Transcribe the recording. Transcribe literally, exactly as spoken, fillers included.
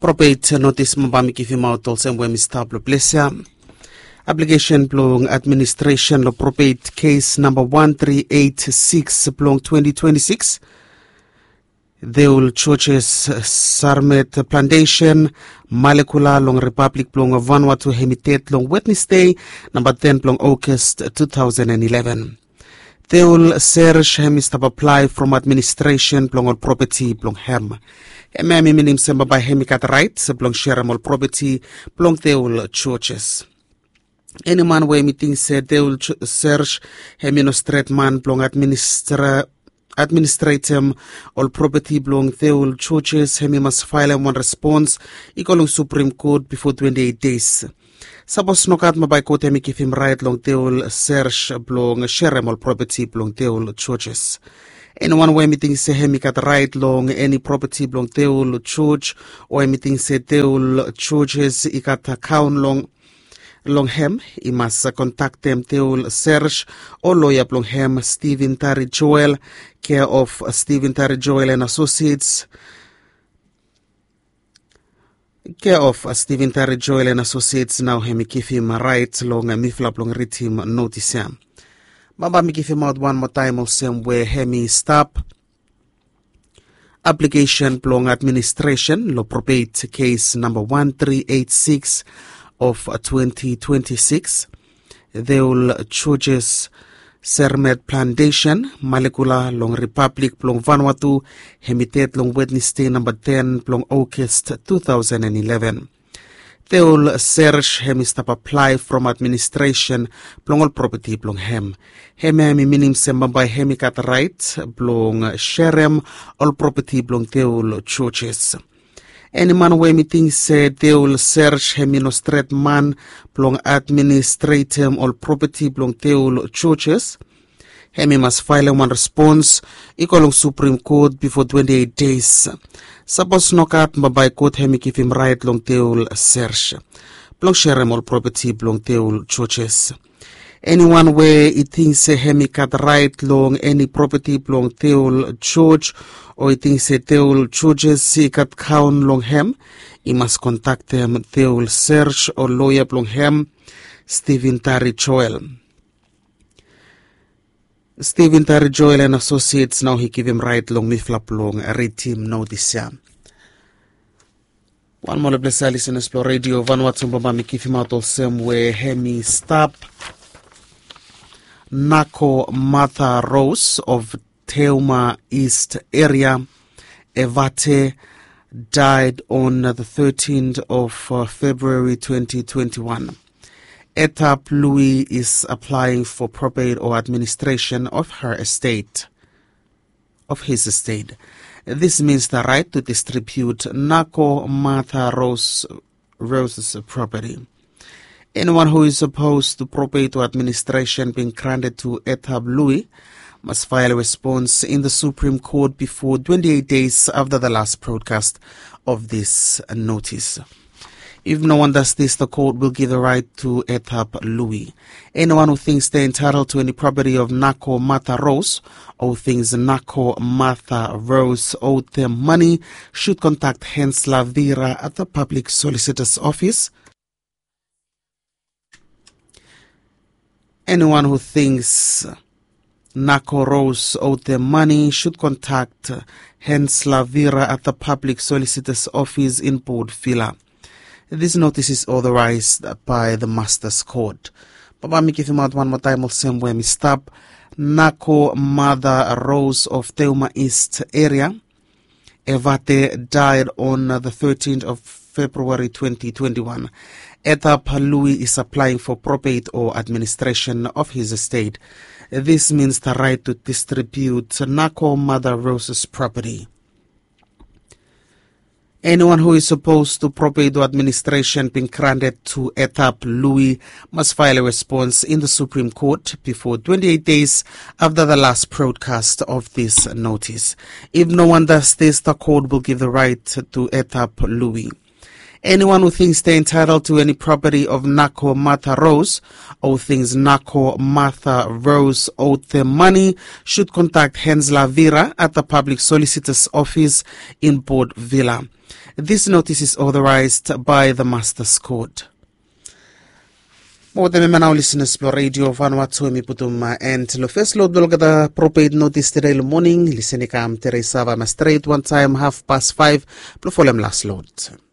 Probeit notis mo bae mi givimaot olsem we mi stap long ples ya. Aplikesen blong administresen long probeit kes namba wan tri eit sikis blong twenti twenti sikis. Deul Georges Sarmet Plantesen, Malekula long Ripablik blong Vanuatu hem i ded long Wednesdei namba ten blong August two thousand and eleven. Deul Serge hem i stap aplae from administresen blong ol propeti blong hem. Hem hem i minim se bae hem i gat raet blong serem ol propeti blong Deul Georges. Eni man we hem i ting se Deul Serge hem i no stret man blong administra administretem ol propeti blong Deul Georges hem i mas faelem wan respons i go long Supreme Court bifo twenti eit deis. Sapos nogat mo bae kot hem i givim raet long Deul Serge blong serem ol propeti blong Deul Georges. Eniwan we hem i ting se hem i gat raet long eni propeti blong Deul George o hem i ting se Deul Georges i gat akaon long long hem i mas kontaktem Deul Serge o loea blong hem Stephen Tari Joel, care of Stephen Tari Joel and Associates. Care of Stephen Tari Joel and Associates nao hem i givim raet long mifala blong ridim notis ya. Bae mi givimaot wan moa taem olsem we hem i stap. Aplikesen blong administresen long probeit kes namba wan tri eit sikis of twenti twenti sikis. Deul Georges Sermet Plantesen, Malekula long Ripablik blong Vanuatu, hem i ded long Wednesdei namba ten blong August two thousand and eleven. Deul Serge hem i stap aplae from administresen blong ol propeti blong hem. Hem hem i minim se bae hem i gat raet blong serem ol propeti blong Deul Georges. Eni man we hem i ting se Deul Serge hem i no stret man blong administretem ol propeti blong Deul Georges, hem i mas faelem wan respons i go long Supreme Court bifo twenti eit deis. Sapos nogat bae kot hem i givim raet long Deul Serge blong serem ol propeti blong Deul Georges. Eniwan we i ting se hem i gat raet long eni propeti blong Deul George o i ting se Deul Georges i gat akaon long hem, i mas kontaktem Deul Serge o loea blong hem, Stephen Tari Joel. Stephen Tari Joel and Associates nao i givim raet long mifala blong ridim notis ya. Wan moa long ples ya, lisenas blong Redio Vanuatu, bae mi givimaot olsem we hem i stap. Nako Martha Rose of Teuma East area, Evate, died on the thirteenth of uh, February twenty twenty-one. Etap Louis is applying for probate or administration of her estate, of his estate. This means the right to distribute Nako Martha Rose Rose's property. Anyone who is opposed to probate or administration being granted to Etap Louis must file a response in the Supreme Court before twenty-eight days after the last broadcast of this notice. If no one does this, the court will give the right to Etap Louis. Anyone who thinks they're entitled to any property of Nako Martha Rose or who thinks Nako Martha Rose owed them money should contact Hans Lavira at the Public Solicitor's Office. Anyone who thinks Nako Rose owed them money should contact Hans Lavira at the Public Solicitor's Office in Port Vila. This notice is authorized by the Master's Court. Bae mi givimaot wan moa taem olsem we mi stap. Nako Martha Rose of Teuma East area, Evate, died on the thirteenth of February twenty twenty-one. Etap Louis is applying for probate or administration of his estate. This means the right to distribute Nako Martha Rose's property. Anyone who is supposed to probate or administration being granted to Etap Louis must file a response in the Supreme Court before twenty-eight days after the last broadcast of this notice. If no one does this, the court will give the right to Etap Louis. Anyone who thinks they're entitled to any property of Nako Martha Rose or who thinks Nako Martha Rose owed them money should contact Hensler Vira at the Public Solicitor's Office in Port Vila. This notice is authorized by the Master's Court. Mo them ema nao listeners blo Radio Vanuatu, mi putum end lo first load blo olgeta propate notice today lo morning. Listen i kam tere sava ma straight one time half past five blo folem last load.